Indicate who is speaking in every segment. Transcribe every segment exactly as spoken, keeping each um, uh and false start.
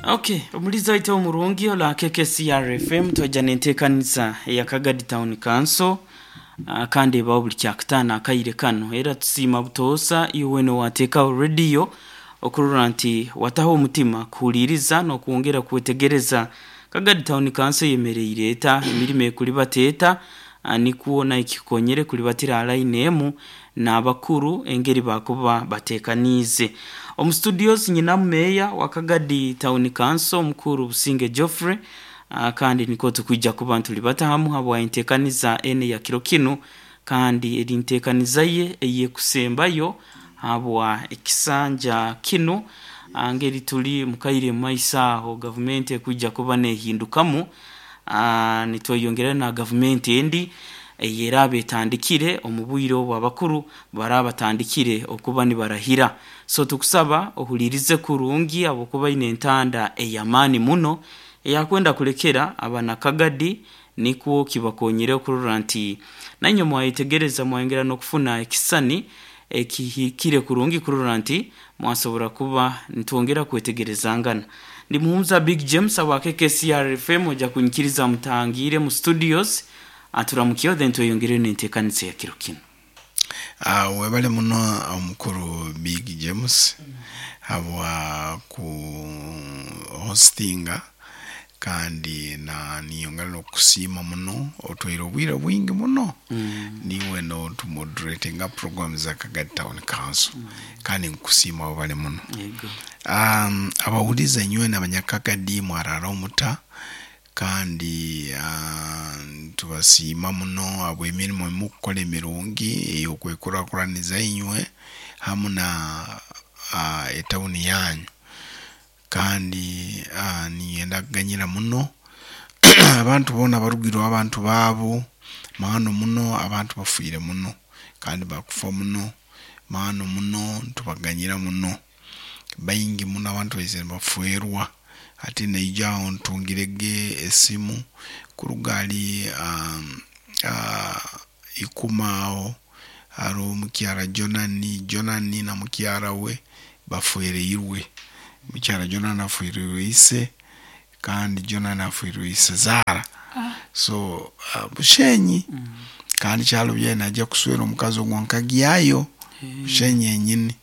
Speaker 1: Okay, omulizi waitu omurungi ola K K C R F M, twajja nenteekaniza eya Kagadi Town Council, uh, kandi ebaho buli kyakutaano akaire kano. Era tusiima butoosa iwe nowateekaho rediyo okurora nti wataho omutima kuhuliiriza n'okwongera kwetegereza Kagadi Town Council eyemereire eta, emirimo ekulibata eta, uh, nikwo naikikonyere kulibatira line emu n'abakuru engeri bakuba bateekaniize. Omu studios nyinamu meeya wa Kagadi Town Council, omukuru Businge Geoffrey, uh, kandi nikwo tukwija kuba ntulibata hamu habwa enteekaniza ene ya kiro kinu, kandi eri nteekaniza ye eyekusembayo habwa ekisanja kinu, ah, ngeri tuli mukaire mumaiso aho gavumenti ekwija kuba nehindukamu, ah, nitweyongera na gavumenti endi eyeraba etandikire omu bwire obu abakuru baraba batandikire okuba nibarahira. So tukusaba ohulirize kurungi habwokuba ine entanda ey'amaani muno eyakwenda kulekera abanakagadi, nikwo kibakonyere okurora nti nainywe mwayetegereza, mwayongera n'okufuna ekisani ekihikire kurungi kurora nti mwasobora kuba nitwongera kwetegerezangana. Ndi Muhumuza Big James aba K K C R F M. Ojja kunyikiriza mutangire mu studios, aturamukyeho, then tweyongereyo n'enteekaniza ya kiro kinu.
Speaker 2: Uh, webale muno omukuru Big James habwa ku hostinga, kandi na niyongera n'okusiima muno, otwaire obwire bwingi muno mm. niwe notumoderatinga program za Kagadi Town Council mm. kandi nkusiima, webale muno.
Speaker 1: Yego.
Speaker 2: um, abawuliza inywe n'abanyakagadi, mwarara omuta? Kandi uh, tubasiima muno habw'emirimo emukukora emirungi ey'okwekurakuraniza inywe hamu na uh, etawuni yanyu. Kandi uh, ninyenda kuganyira muno abantu boona abarugirweho abantu baabo maano muno. Abantu bafiire muno kandi bakufa muno maano muno, ntubaganyira muno. Baingi muno abantu baizire nibafwerwa. Hati naija aho ntungirege esimu kuruga hali um, uh, ikuma aho hariho mukyara Jonani. Jonani na mukyara we bafwereirwe. Mukyara Jonani afwirirwe ise, kandi Jonani afwirirwe ise zaara. So uh, Bushenyi mm. kandi kyalo byene najja kuswera omukazi ogwo nkagyayo Bushenyi yenyini.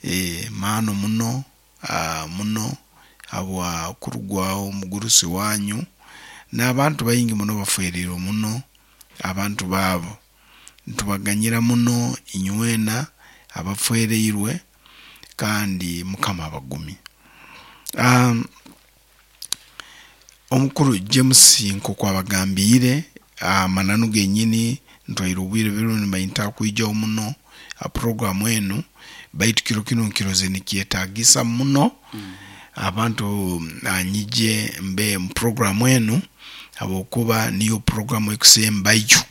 Speaker 2: e, maano muno, uh, muno habwa kurugwaho omugurusi wanyu. N'abantu baingi muno bafwerirwe muno abantu baabo, ntubaganyira muno inywena abafwereirwe, kandi Mukama abagumye. um, omukuru James nk'oku abagambiire amananu genyini, ntwaire obwire biro nibayinta kwijaho muno ha programu enu, baitu kiro kinu nkiroze nikyetagisa muno mm. abantu nyije mbe mu programu enu, habwokuba niyo programu ekusembayo,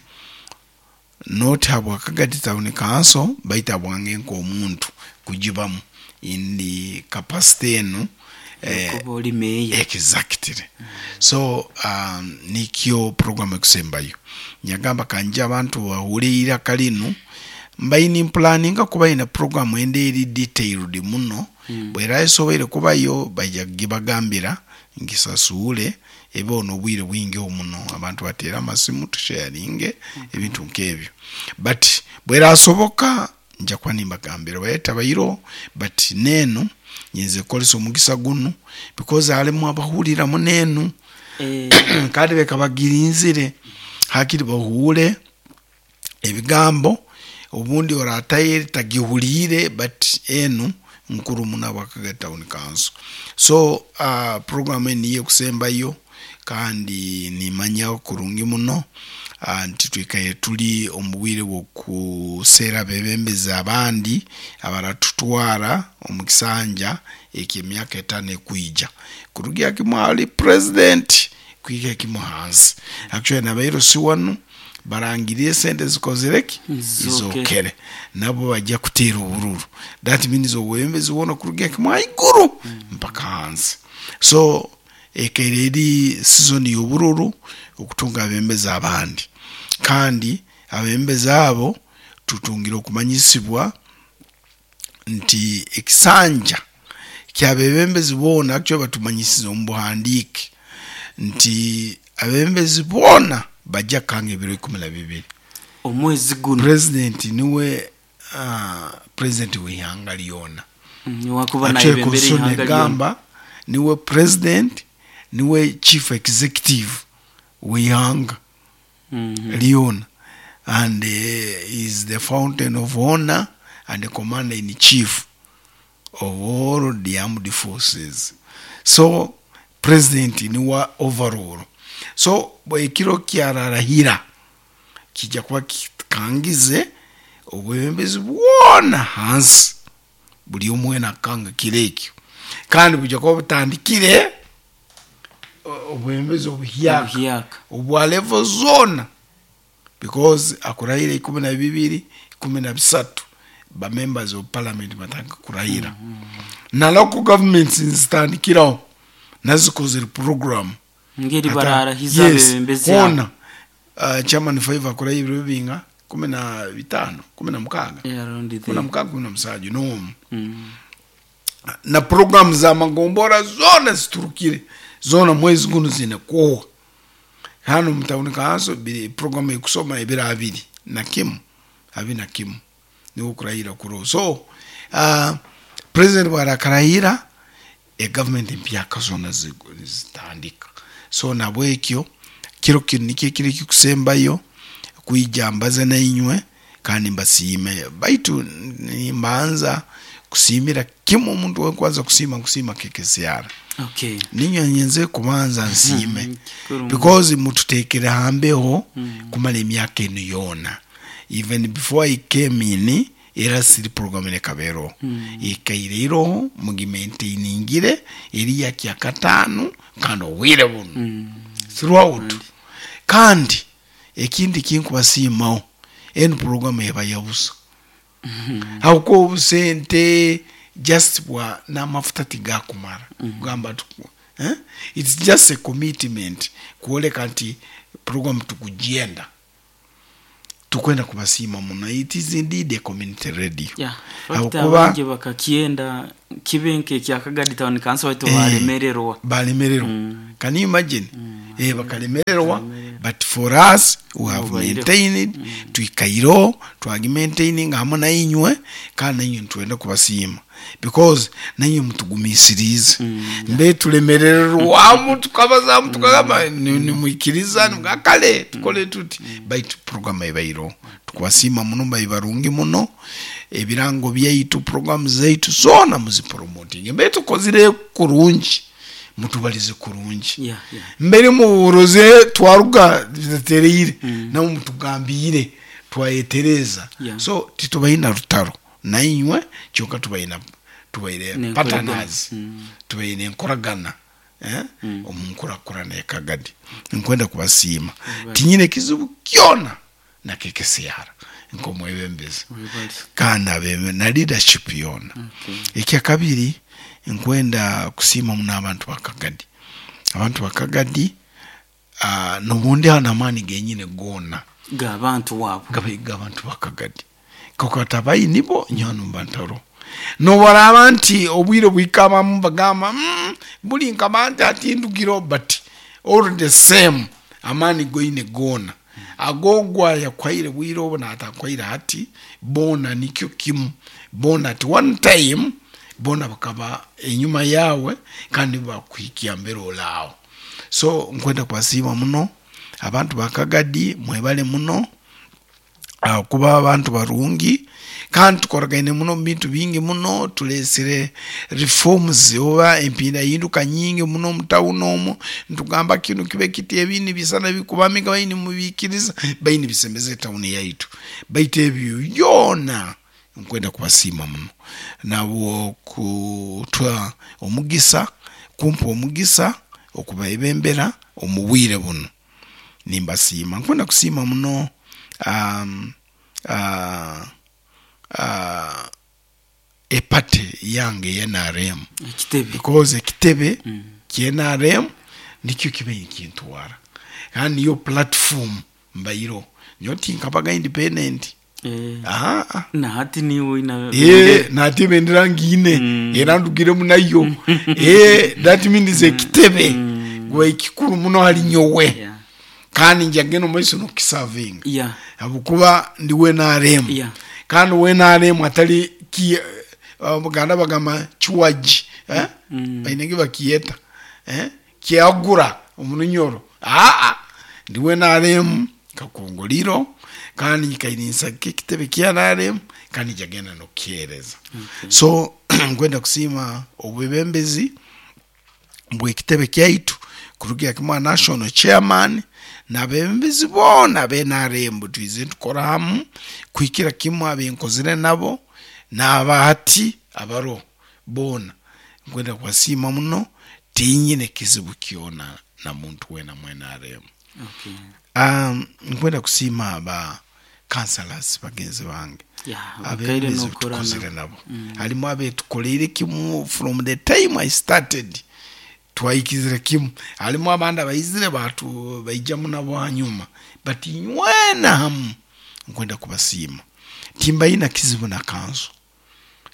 Speaker 2: not habwa Kagadi Town Council, baitu habwange nk'omuntu kugibamu indi capacity enu.
Speaker 1: Eh, kuba oli meeya.
Speaker 2: Exactly. So um, nikyo programu ekusembayo, nyagamba kanje abantu bahure iraka linu. Mbaine mpulaninga kuba ine programu ende eri detailed muno mm. bwera esoboire kubayo baija kugibagambira ngisasuule, ebe n'obwire bwingi muno abantu bateera amasimu, tusharinge ebintu nk'ebyo. But bwerasoboka nja kuba nimbagambira bayeta bairo. But nenu nyinza kukozesa omugisa gunu because halimu abahuriramu nenu
Speaker 1: Eh,
Speaker 2: kandi beka bagirinzire hakiri bahure ebigambo obundi orataye tagihuliire, but enu nkuru muno abwa Kagadi Town Council. So uh, program enu niyo ekusembayo, kandi nimanya kurungi muno uh, nti twikaire tuli omu bwire bw'okuseera abebembezi abandi abaratutwara omu kisanja eky'emyaka etaano ekwija, kurugira kimu ali president kuhika kimu hansi. Actually nabairo si wanu barangiriye esente zikozire ki?
Speaker 1: Izokere.
Speaker 2: Izokere. Nabo bajja kuteera obururu. That means obwebembezi bwona kurugira kimu haiguru mpaka hansi. So ekaire eri season y'obururu okutunga abebembezi abandi, kandi abebembezi abo tutungire okumanyisibwa nti ekisanja Kyabebembezi boona actually batumanyisize omu buhandiike nti abebembezi boona bajja kukanga ebiro ikumi na bibiri.
Speaker 1: Omwezi guno.
Speaker 2: President niwe uh, president w'ihanga lyona.
Speaker 1: Mm, niwakuba
Speaker 2: Actually,
Speaker 1: nayebembera
Speaker 2: constitution
Speaker 1: ihanga lyona.
Speaker 2: egamba niwe president, niwe chief executive w'ihanga
Speaker 1: Mhm.
Speaker 2: lyona, and uh, is the fountain of honor and the commander in chief of all the armed forces. So president niwa overall. So bwe ekiro kyararahira kijja kuba kikangize obwebembezi bwona hansi, buli omwe nakanga kiro ekyo, kandi bujja kuba butandikire o- obwebembezi obuhyaka
Speaker 1: Obuhyaka.
Speaker 2: obwa level zona, because akurahira ikumi na bibiri, ikumi na bisatu ba members of parliament batandika kurahira, mm -hmm. na local governments nzitandikiraho nazikozere program
Speaker 1: Ngeri
Speaker 2: Ata-
Speaker 1: bararahiza
Speaker 2: yes,
Speaker 1: abebembezi abo.
Speaker 2: hona uh, chairman five akurahira ebiro bibinga kumi na bitano, kumi na mukaaga,
Speaker 1: Yeah, around
Speaker 2: kumi na
Speaker 1: there.
Speaker 2: mukaaga, kumi na musanju n'omu.
Speaker 1: Mm.
Speaker 2: Na programu za magombora zona ziturukire zona mwezi guno zine kuwa hano mutawuni kanso biri programu ekusoma ebiro abiri na kimu, abiri na kimu niwo kurahira kuro. So uh, president bwarakarahira, e government empyaka zona zigu- zitandika. So nabwekyo kiro kino nikyo ekiro ekikusembayo kwija mbaze nainywe kandi mbasiime, baitu nimbanza kusiimira kimwe omuntu wenkwanza kusiima nkusiima K K C R.
Speaker 1: Okay.
Speaker 2: Ninywe nyenze kubanza nsiime
Speaker 1: Mm, kikuru.
Speaker 2: because mututekere hambeho kumala emyaka eno yoona. Even before I came in, era siri program nekabero ikaire iroho mugimaintainingire eri yakyakataano kandi obwire buno
Speaker 1: Mm.
Speaker 2: throughout. Kandi ekindi kinkubasiimaho, eno program eba yabusa hakuba obusente just bwa n'amafuta tigakumara kugamba tuku, eh? It's just a commitment kwoleka nti program tukugenda tukwenda kubasiima muno. It is indeed a community radio.
Speaker 1: Yeah.
Speaker 2: Habwokuba-
Speaker 1: Abangi bakakyenda kibe nke Kagadi Town Council baitu
Speaker 2: Eh,
Speaker 1: balemererwa.
Speaker 2: Balemererwa.
Speaker 1: Mm.
Speaker 2: Can you imagine? Eh, bakalemererwa, but for us we have
Speaker 1: Mubaireho.
Speaker 2: maintained, twikaireho twagimaintaining hamwe nainywe, kandi nainywe nitwenda kubasiima because nainywe mutugumisirize. Mbe tulemererwamu tukabazamu tukagamba ni- nimwikiriza nimugamba kale tukole tuti, baitu program ebaireho tukubasiima muno. Mbai barungi muno, ebirango byaitu, program zaitu zona muzipromoting. Mbe tukozire kurungi, mutubalize kurungi.
Speaker 1: Yeah, yeah.
Speaker 2: Mbere muburoze twaruga bitatereire, nabo mutugambire twayetereza.
Speaker 1: Yeah.
Speaker 2: So titubaina rutaro nainywe, kyonka tubaina tubaire
Speaker 1: N'enkoragana.
Speaker 2: partners,
Speaker 1: Mm.
Speaker 2: tubaine enkoragana, eh? Omu nkurakurana ekagadi nkwenda kubasiima. Tinyine kizibu kyona na K K C R nkomwebembezi
Speaker 1: Webale.
Speaker 2: kandi abebe na leadership yona.
Speaker 1: Okay.
Speaker 2: Ekyakabiri, nkwenda kusiima muno abantu bakagadi, abantu bakagadi uh, nobundi hano amaani genyine goona
Speaker 1: G'abantu waabo.
Speaker 2: gabe g'abantu bakagadi kakata nibo nyano mbantaro nobaraba nti obwire bwikabamu bagamba mm, buli nkaba nti atindugiro, but all the same amaani goine goona agogwa yakwaire bwire obu natakwaire hati bona nikyo kimu bona at one time bona bakaba enyuma yawe kandi bakuhikia mbere olaawo. So nkwenda kubasiima muno abantu bakagadi, mwebale muno uh, kuba abantu barungi kandi tukoragaine muno mu bintu bingi muno. Tulesere reforms oba empindahinduka nyingi muno mutawuni omwo, ntugamba kino kibe kiti, ebindi bisana bikubamiga baini mubikiriza baini bisembeza etawuni yaitu. Baitu ebyo byona nkwenda kubasiima muno nabo kutwa omugisa, kumpa omugisa okubaebembera omu bwire buno, nimbasiima. Nkwenda kusiima muno um, uh, uh, epate yange ye N R M.
Speaker 1: Ekitebe.
Speaker 2: Because ekitebe
Speaker 1: Mm.
Speaker 2: kye N R M nikyo kibe nkintwara kandi niyo platform mbairo nyo tinkabaga independent.
Speaker 1: Eh.
Speaker 2: Ah, ah.
Speaker 1: Na hati niwe ina
Speaker 2: Eh, nati ebendera ngiine era ndugiremu nayo. Eh, that means ekitebe gwe kikuru muno hali nyowe.
Speaker 1: Yeah.
Speaker 2: Kandi njagenda omu maiso nokukisavinga
Speaker 1: Yeah.
Speaker 2: habwokuba ndi we N R M.
Speaker 1: Yeah.
Speaker 2: Kandi we N R M atali ki Abaganda bagamba kiwaji, eh? Bainenge bakiyeta, eh? Kyagura omunyoro. Ah, ah. Ndi we N R M kakongoliro kandi nyikairinsa ekitebe kya N R M kandi njagenda nokukyereza.
Speaker 1: Okay.
Speaker 2: So nkwenda kusiima obwebembezi bw'ekitebe kyaitu kurugira kimwe national chairman n'abebembezi boona abe N R M twize tukora hamu kuhikira kimwe abenkozire nabo n'abahati abaro boona. Nkwenda kubasiima muno, tinyine kizibu kyona na muntu wena mu N R M.
Speaker 1: Okay.
Speaker 2: Um, nkwenda kusiima aba councillors bagenzi bange.
Speaker 1: Yeah, bakaire
Speaker 2: Abebembezi
Speaker 1: n'okora
Speaker 2: tukozire
Speaker 1: nabo.
Speaker 2: nabo. Harimu abetukoreire kimu from the time I started twayikizire kimu. Harimu abandi abayizire batu baijamu nabo hanyuma, but nywena hamu nkwenda kubasiima. Timbayina kizibu na kanso.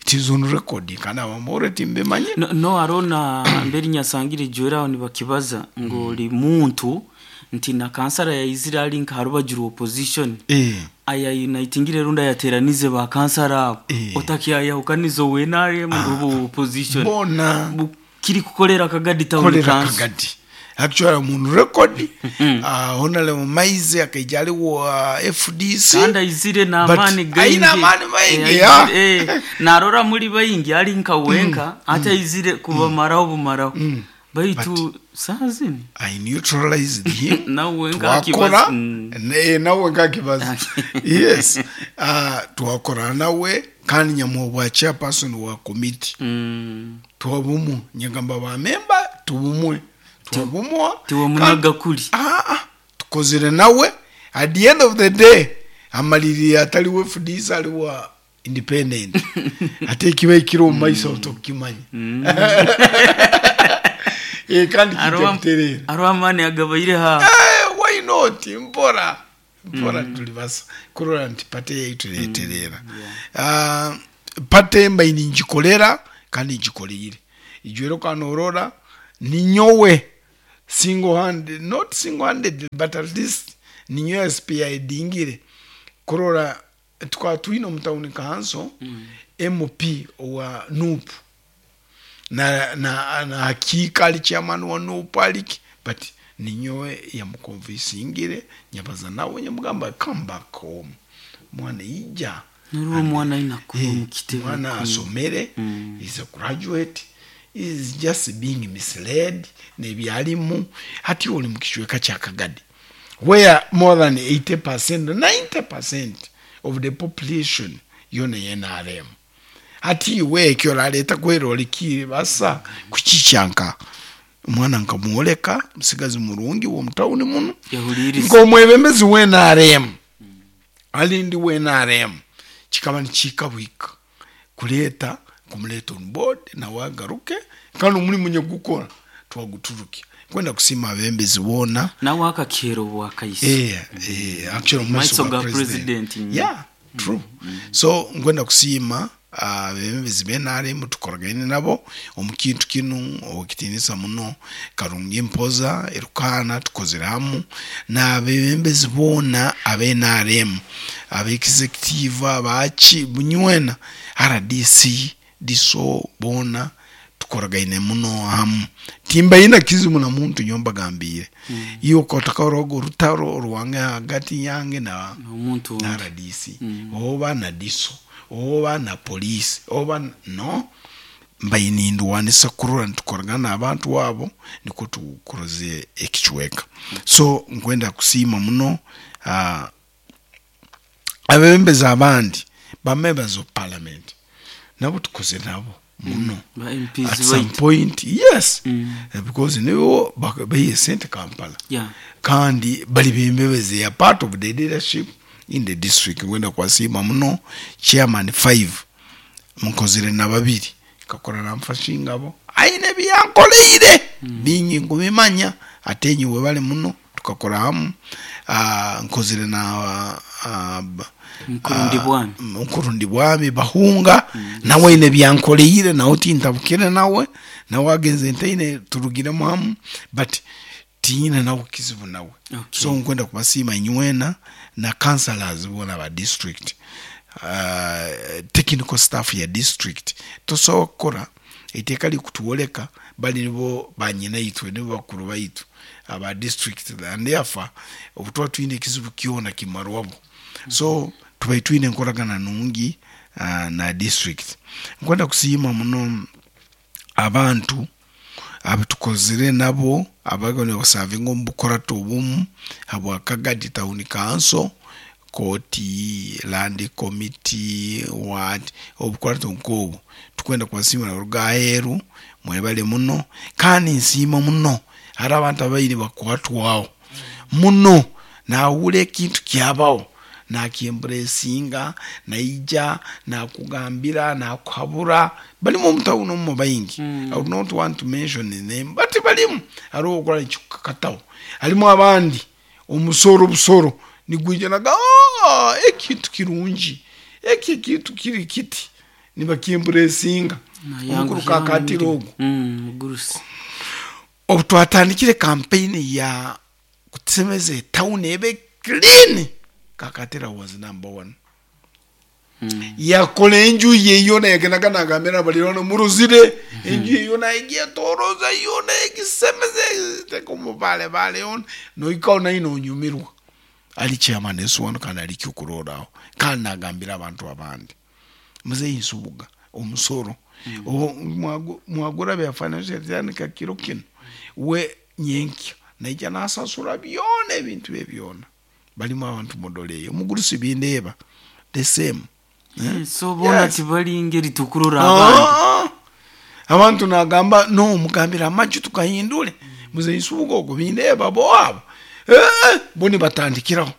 Speaker 2: It is on record kana bamore timbemanye.
Speaker 1: No, no arona mberi nyasangire jwera nibakibaza ngo li muntu nti na kansara ya Israel nka harubagira opposition.
Speaker 2: Eh.
Speaker 1: Aya unitingire runda yateranize ba kansara abo.
Speaker 2: Eh.
Speaker 1: Otakiaya ukanizo we N R M rubu opposition.
Speaker 2: Bona.
Speaker 1: Kiri kukolera Kagadi town
Speaker 2: Kolera
Speaker 1: council.
Speaker 2: Kagadi. Actually mun record, uh, Honorable Maize akaijali wa F D C.
Speaker 1: Kanda izire na
Speaker 2: But
Speaker 1: amani gaingi.
Speaker 2: aina amani maingi,
Speaker 1: Eh,
Speaker 2: ya.
Speaker 1: eh, narora muri bayingi ari nka wenka, ata izire kubamaraho bumaraho.
Speaker 2: Mm.
Speaker 1: Baitu
Speaker 2: But
Speaker 1: sazini.
Speaker 2: I neutralized him.
Speaker 1: Na wenka
Speaker 2: Twakora,
Speaker 1: akibaza. Mm.
Speaker 2: ne, na wenka akibaza. Yes. Uh, twakora nawe kandi nyamubwa chairperson wa committee.
Speaker 1: Mm.
Speaker 2: Twabumu nyagamba ba member tubumwe. Twabumwa.
Speaker 1: Tiwa munaga kuli.
Speaker 2: Ah, ah. Tukozere nawe at the end of the day amaliri atali we F D C ali wa independent. Ate kiba ikiro mu maiso tokimanya.
Speaker 1: Mm.
Speaker 2: Eh, kandi
Speaker 1: Arwa-
Speaker 2: kijja
Speaker 1: Arwa mani agabaire ha.
Speaker 2: Eh, why not? Mpora. Mpora mm. Tulibasa. Kurora nti pate yaitu leterera.
Speaker 1: Mm, yeah.
Speaker 2: Ah, pate mbaini njikolera kandi njikolire. Ijwero kanorora ninyowe single handed, not single handed but at least ninyowe S P I dingire. Kurora tukaba twine mu town council
Speaker 1: Mm.
Speaker 2: M P wa N U P. Na, na, na hakika ali chairman wa N U P aliki, but ninyowe yamukonvinsingire nyabaza nawe nyamugamba come back home mwana ija
Speaker 1: Nuru mwana ina kuba
Speaker 2: Eh,
Speaker 1: mu kitebe
Speaker 2: mwana
Speaker 1: kumi.
Speaker 2: asomere
Speaker 1: Mm.
Speaker 2: is a graduate is just being misled nebyalimu hati oli mu kicweka kya Kagadi where more than eighty percent ninety percent of the population yona N R M. Hati iwe ekyo orareta kwera orikire basa kukicyanka omwana nkamworeka musigazi murungi w'omutawuni muno
Speaker 1: Yahuririza.
Speaker 2: nk'omwebembezi wa N R M ali ndi wa N R M kikaba nikikabwika kureeta kumureta on board nawe agaruke kandi omurimo nyagukora twaguturuke kwenda kusiima abembezi boona
Speaker 1: Nawe akakero bwakayise.
Speaker 2: Eh, eh, actually mu
Speaker 1: Maiso
Speaker 2: maiso ga
Speaker 1: ga
Speaker 2: president.
Speaker 1: president.
Speaker 2: Yeah, true. So nkwenda kusiima abebembezi ba N R M tukoragaine nabo omu kintu kinu okitinisa muno Karungi Mpoza Erukana tukozere hamu n'abebembezi boona aba N R M aba executive abaki bunywena R D C D S O boona tukoragaine muno hamu timbayina kizibu na muntu nyomba gambire mm. Iyo kotakorogo rutaro ruwange hagati yange na
Speaker 1: Omuntu
Speaker 2: na
Speaker 1: wundi.
Speaker 2: R D C
Speaker 1: Mm.
Speaker 2: oba na D S O oba na police oba no mbayinindwanisa kurora nitukoragana abantu wabo niko tukuroze ekicweka. So nkwenda kusiima muno uh, abebembezi abandi ba members of parliament nabo tukoze nabo muno
Speaker 1: Ba M Ps
Speaker 2: at some
Speaker 1: baitu.
Speaker 2: point yes
Speaker 1: Mm.
Speaker 2: because nibo bayiye sente Kampala
Speaker 1: Yeah.
Speaker 2: kandi bali bembebezi ya part of the leadership in the district. Ngwenda kwasiima muno chairman five mukozire na babiri kakora namfashingabo aine byankoleire mm. bingi ngubimanya ate nyiwe bali muno tukakora hamu. Uh, nkozire na uh,
Speaker 1: Mkurundi bwami.
Speaker 2: Mkurundi bwami bahunga mm. Nawe ine byankoleire nawe tintabukire nawe nawe agenze ntaine turugiremu hamu but tiine nawe kizibu nawe.
Speaker 1: Okay.
Speaker 2: So nkwenda kubasiima nywena na councillors bona ba district, uh, technical staff ya district tosobola kukora eiteeka likutuwoleka bali nibo banyina itwe nibo bakuru baitu aba district, and therefore obu twine ekizibu kyona kimarwabo. So tubai twine enkoragana nungi uh, na district. Nkwenda kusiima muno abantu abatukozire nabo abago basavinga omu bukorato obumu habwa Kagadi Town Council, koti, land committee, what obukorato nkobu tukwenda kubasiima nabaruga aheeru mwebale muno. Kandi nsiima muno hari abantu abaire bakwatwaho muno nahura ekintu kyabaho nakyemburesinga naija nakugambira nakuhabura balimu omutawuni omu baingi.
Speaker 1: Mm.
Speaker 2: I would not want to mention the name but balimu hariho okora ekikukakataho harimu abandi omusoro busoro nigwija naga "Ah, ekintu kirungi eki ekintu kiri kiti nibakyemburesinga omukuru kakatira ogwo.
Speaker 1: Mm, mugurusi.
Speaker 2: Obu twatandikire campaign ya kusemeza etawuni ebe clean, Kakatira was number one.
Speaker 1: Mm.
Speaker 2: Yakola enju ye yona yagendaga nagambira abalirwana muruzire enju ye yona egyetoroza yona egisemeze teka omubalebale yona noikaho naye nonyumirwa ali chairman esiwano kandi ali kyokuroraho kandi nagambira abantu abandi muzeyi Nsubuga omusoro mm. Mwagura bya financial tandika kiro kino we nyenkya naija nasasura byona ebintu bye byona balimu abantu mudoleyo omugurusi bindeeba the same.
Speaker 1: Eh, so bona
Speaker 2: Yes.
Speaker 1: tibali ngeri tukurora abandi.
Speaker 2: Ah, abantu nagamba no mugambira amaju tukahindure muzeyi Nsubuga ogwo bindeeba bo abo Eh, bo nibatandikiraho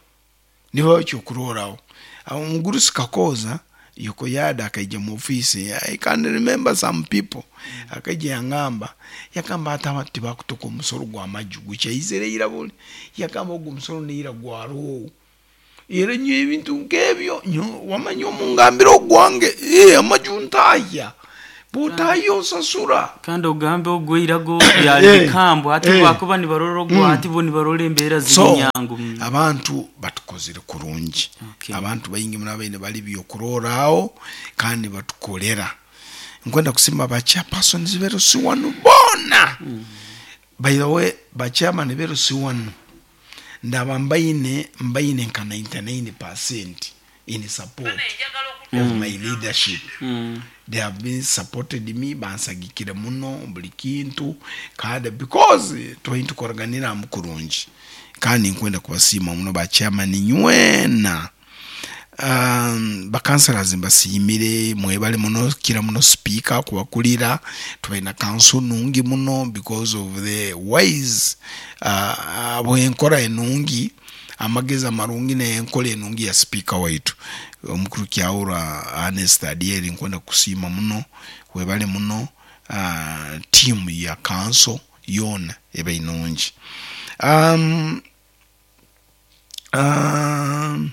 Speaker 2: nibo ekyokuroraho. Omugurusi Kakoza yoko yada akaija mu office. I can remember some people akaija yangamba yakamba ati abantu tibakutoka omusoro gwa maju gukyaizire ira buli yakamba ogwo omusoro neira gwaroho era nyo ebintu nk'ebyo nyo wamanya omungambira ogwange eh, amaju ntahya butahya osasura.
Speaker 1: Kandi ogambe ogweirago byali
Speaker 2: Eh,
Speaker 1: bikambo ati
Speaker 2: eh.
Speaker 1: bakuba nibarora ogwo ati bo nibarora embeera ziri
Speaker 2: So
Speaker 1: nyangu. Mm.
Speaker 2: abantu batukozire kurungi.
Speaker 1: Okay.
Speaker 2: Abantu baingi muno abaine bali byokuroraho kandi batukolera. Nkwenda kusima ba chairpersons berusi wanu bona. By the way ba chairman berusi wanu ndaba mbaine mbaine nka ninety-nine percent in support of my leadership.
Speaker 1: Mm.
Speaker 2: They have been supported me bansagikire muno buli kintu kandi because twine tukoraganira mu kurungi kandi nkwenda kubasiima muno ba chairman nywena. Um, bakansalas mbasiimire mwebale muno kira muno speaker kubakulira tubaina council nungi muno because of the wise uh, bwenkora enungi amagezi amarungi n'enkola enungi ya speaker waitu omukuru Kyaura Ernest Adieri nkwenda kusiima muno webale muno uh, team ya council yona eba inungi. um, um,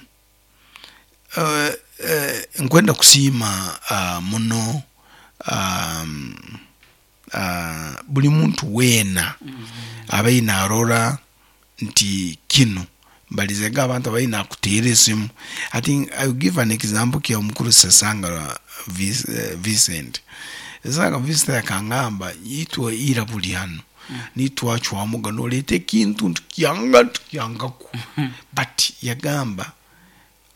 Speaker 2: uh, uh, nkwenda kusiima uh, muno um, uh, buli muntu weena abaine arora nti kino mbalizega abantu abaine akuteera esimu. I think I will give an example kya omukuru Sesanga Vincent. Sesanga Vincent akangamba itwe ira buli hano nitwachwamuga noleeta ekintu ntukyanga ntukyangaku but yagamba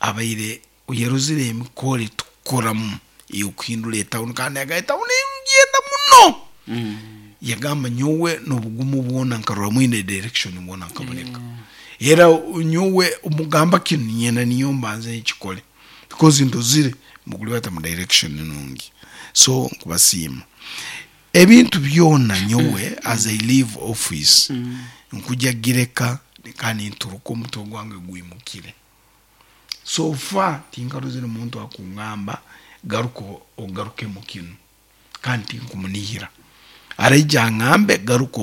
Speaker 2: abaire yarozire emikore tukoramu ey'okuhindura etawuni kandi yagamba etawuni ngenda muno.
Speaker 1: Mm.
Speaker 2: Yagamba nyowe n'obugumu bwona nkarora mwine direction bwona nkaboneka era nyowe omugamba kinu nyenda niyo mbanze nkikole because ndozire mugulibata mu direction nungi. So nkubasiima ebintu byona nyowe as I leave office nkuja gireka kandi nturuka omutwe gwange gwimukire. So far tinkarozire omuntu akungamba garuka ogaruke mu kinu kandi tinkumunihira araija angambe garuka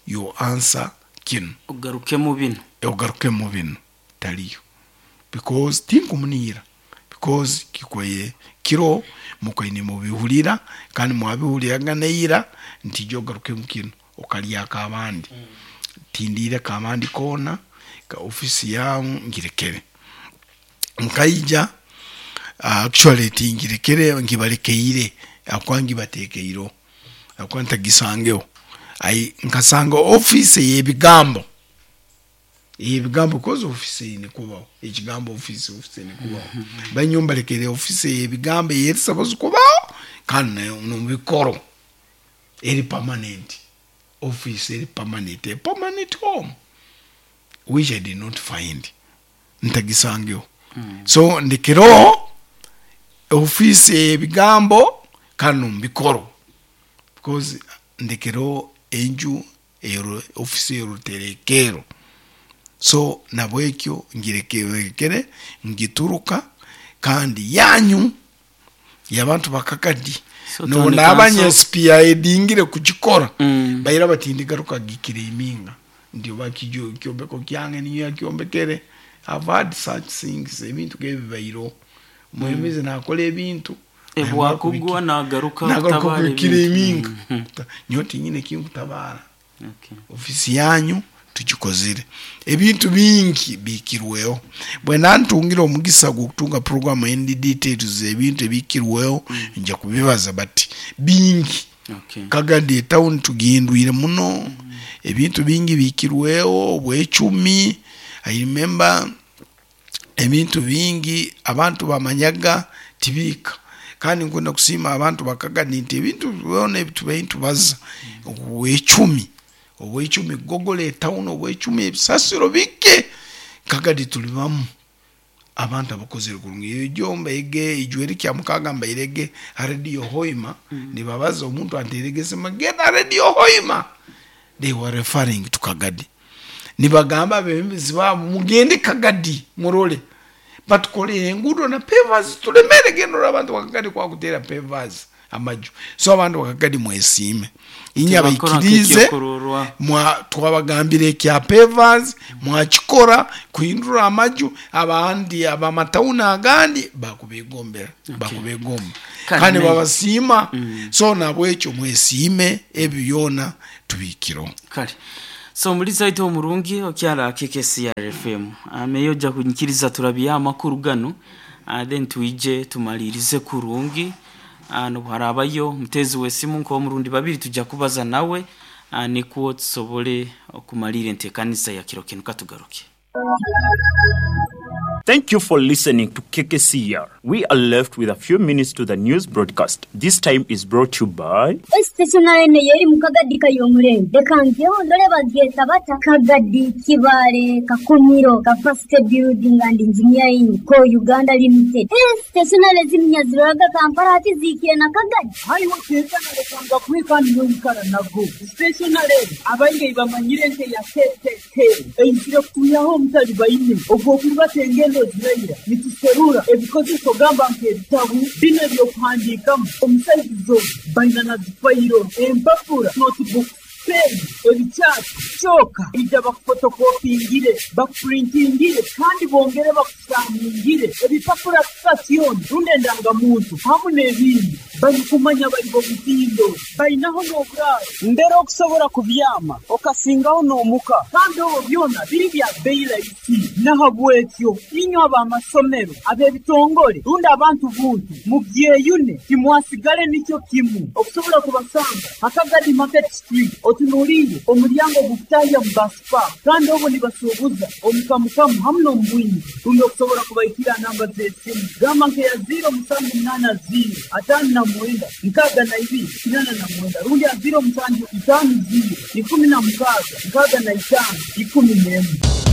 Speaker 2: yo answer kinu
Speaker 1: ogaruke mu bino
Speaker 2: ogaruke mu bino taliyo. Because tinkumunira because kikwaye kiro mukaine mubihulira kandi mwabihuliraga neira nti jogaruke mukino okalyaka abandi mm. Tindire kamandi kona ka ofisi yamu ngirekere nkaija uh, actually tingirekere ngibalekeire akwangi batekeiro akwanta gisangeho ai nkasanga office yebigambo yebigambo kozo office ine kubaho ekigambo office office ine kubaho banyumba lekere office yebigambo yerisabazo kubaho kandi no mubikoro eri permanent office eri permanent a permanent home which I did not find ntagisangeho mm. So ndikiro office yebigambo kandi mubikoro because ndikiro enju ero office eruterekero so nabwekyo ngirekere ngituruka kandi yanyu yabantu bakakadi
Speaker 1: So
Speaker 2: no
Speaker 1: town
Speaker 2: nabanye
Speaker 1: council-
Speaker 2: S P I dingire kugikora
Speaker 1: Mm.
Speaker 2: bayira batindi garuka gikire iminga ndio bakijo kyombeko kyange niyo yakyombekere. I've had such things ebintu kebibairo muhimizi nakola ebintu
Speaker 1: Ebwakugwa nagaruka
Speaker 2: nagaruka
Speaker 1: kutabara
Speaker 2: kubikira
Speaker 1: ebintu.
Speaker 2: iminga
Speaker 1: Mm.
Speaker 2: nyoti nyine kinkutabara
Speaker 1: Okay.
Speaker 2: ofisi yanyu tugikozire ebintu bingi bikirweho bwe nantungira omugisa gwokutunga program endi details ebintu ebikirweho nja kubibaza but bingi
Speaker 1: Okay.
Speaker 2: Kagadi town tugindwire muno ebintu bingi bikirweho obwecumi. I remember ebintu bingi abantu bamanyaga tibika kandi nkunda kusiima abantu bakagadi nti ebintu byona ebitubaintu baza obwecumi obwecumi gogola etawuni obwecumi ebisasiro bike Kagadi tulibamu abantu abakozere kurungi ejo mbaige ijweri kya mukaga mbairege Radio Hoima mm. Nibabaza omuntu anteregese magenda Radio Hoima they were referring to Kagadi nibagamba abebembezi babo mugende Kagadi murole batukolere enguudo na pavers tulemere gendo abantu bakagadi kwa kutera pavers amaju so abantu bakagadi mwesiime inya
Speaker 1: Tebakora
Speaker 2: baikirize
Speaker 1: nk'ekyokurorwa.
Speaker 2: mwa twabagambire kya pavers mwakikora kuhindura amaju abandi abamatawuni agandi bakubegombera okay. Bakubegomba
Speaker 1: Kandi
Speaker 2: kandi
Speaker 1: ne-
Speaker 2: babasiima mm. So nabwekyo mwesiime ebyo byona tubikiro
Speaker 1: Kale. So muri zaito omurungi okyala K K C R F M ameyo ja kunyikiriza turabya amakuru gano uh, then tuije tumalirize kurungi uh, no harabayo mutezi wesimu nko murundi babiri tujja kubaza nawe uh, nikuwo tusobole okumalira entekanisa ya kiro kinu katugaruke.
Speaker 3: Thank you for listening to K K C R. We are left with a few minutes to the news broadcast. This time is brought to you by
Speaker 4: Stationary ne yeri mu Kagadi kayomurembe reka ngeho ndore babyeta bata Kagadi Kibale Kakumiro Capacity Building and Engineering ko Uganda Limited. Stationary zimnyaziraga Kampala ati zikire na Kagadi
Speaker 5: hariho keza narekanga kwikandi n'oyikara nago stationary abaingi bamanyire nte ya K K K eizire kutuyaho omutali baine ogwo kubatenge engendo zirayira nituserura ebikozeso gamba nk'ebitabu bino ebyokuhandiikamu omusaizizo baina na zifayiro empapura notebook pen ebikyati kyoka ija bakufotokopingire bakupurintingire kandi bongere bakusaningire ebipapura sitasioni rundi endangamuntu hamu n'ebindi barikumanya bari bo mutindo bainaho n'oburaaro mbere okusobola kubyama okasingaho n'omuka kandi obwo byona biri bya bbeeyi rahisi nahabwekyo inywe ab'amasomero ab'ebitongole rundi abantu buntu mubyeyune timwasigale nikyo kimu okusobola kubasanga Akagadi Market Street otunuliire omulyango gukutahya mu basipa kandi obwo nibasuubuza omukamukamu hamu n'omubwingi rundi okusobola kubaikira namba z'esimu gamba nkeya ziro musanju munaana ziro ataano na mwenda nkaaga na ibiri kinana na mwenda rundi ya ziro musanju itaano ziro ikumi na mukaaga nkaaga na itaano ikumi n'emwe.